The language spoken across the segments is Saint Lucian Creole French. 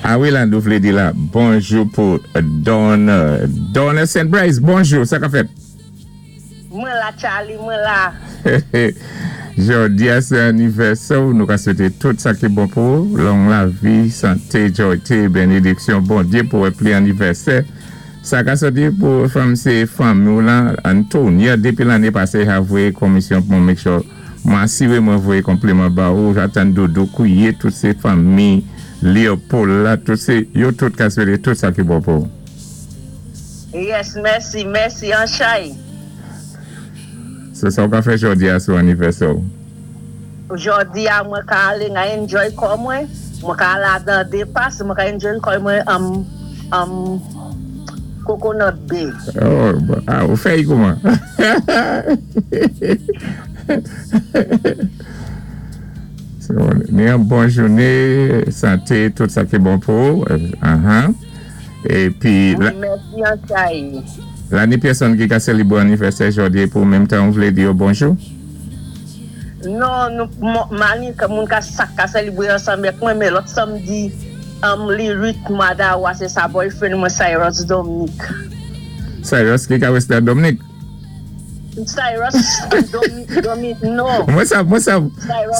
A wi, la nou vlé di la bonjou pou Don Don St. Bryce, bonjou, sa ka fèt? Mwen la, Charlie, mwen la. Jòdi a sé anivèsè ou, nou ka swété tout sa ki bon pou ou, long lavi, santé, jòyté, bénédiksyon Bondyé pou wè pli anivèsè. Sa ka sòti pou fanm sé fanmi ou lan, Antonia, dépi lanné pasé ha voyé komisyon pou mwen make sure mwen asiré mwen voyé konpliman ba ou, atan Doudou Kouye, tout sé fanmi Léopold la, tout sé yo tout ka swété tout sa ki bon pou ou. Yes, mèsi, mèsi, anchay. So sa ou ka fè jòdi a sou anivèsè ou? Jòdi a mwen ka alé nan enjoy kò mwen, mwen ka al adan depas, mwen ka enjoy kò mwen Coconut Bay. Oh, ah, ou fè yi kouman? So, ni an bon jouné, santé, tout sa ki bon pou ou. Épi, Wi, mèsi anchay. La ni pèsonn ki ka sélébwé anivèsè jòdi é pou menm tan ou vlé di yo bonjou? Non, nou mani moun ka sak ka sélébwé ansanm ak mwen, men lòt samdi li 8 mwa dawa sé sa boyfriend mwen Cyrus Dominique. Cyrus ki ka wè se Dominique? Cyrus Dominique, non. Mwen sav, mwen sav.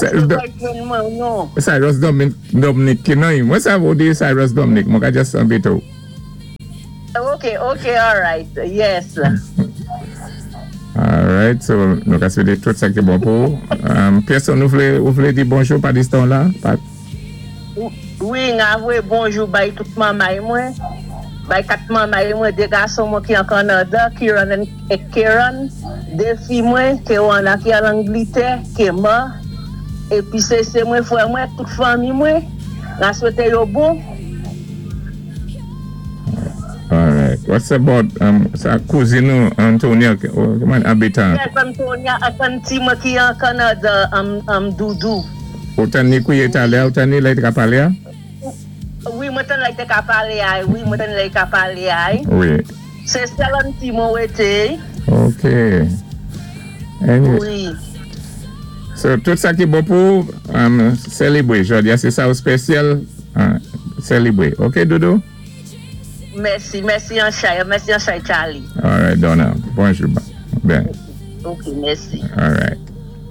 Cyrus sé boyfriend mwen, non. Cyrus Dominique ki non, mwen sav ou di Cyrus Dominique, mwen ka just anbété ou. Ok, alright, yes. Alright, so nou ka swété tout sa ki bon pou ou. Pèsonn ou vlé di bonjou pa distan la? Wi, nga voyé bonjou bay tout manmay mwen, bay kat manmay mwen, dé gason mwen ki an Kanada, Kiran et Keran, dé fi mwen, Kewana ki an Anglitè, Kema, épi Sese mwen, frè mwen, tout fanmi mwen, nga swété yo bon. Alright. What's about sa kouzin nou Antonia kouman abitan? Yes, Antonia ak auntie mwen ki an Kanada, Doudou. Ou tann ni kouye talè, ou tann ni lè i te ka palé a? Wi, mwen tann lè i te ka palé a, wi, mwen tann lè i ka palé a. Wi. Sé sèl auntie mwen wété. Ok. Anyway. Wi. So, tout sa ki bon pou sélébwé jòdi a, sé sa ou spésyal sélébwé. Ok, Doudou? Mèsi, mèsi anchay, mèsi anchay Charlie. Alright, Donna. Bonjou. Ben. Ok, mèsi. Alright.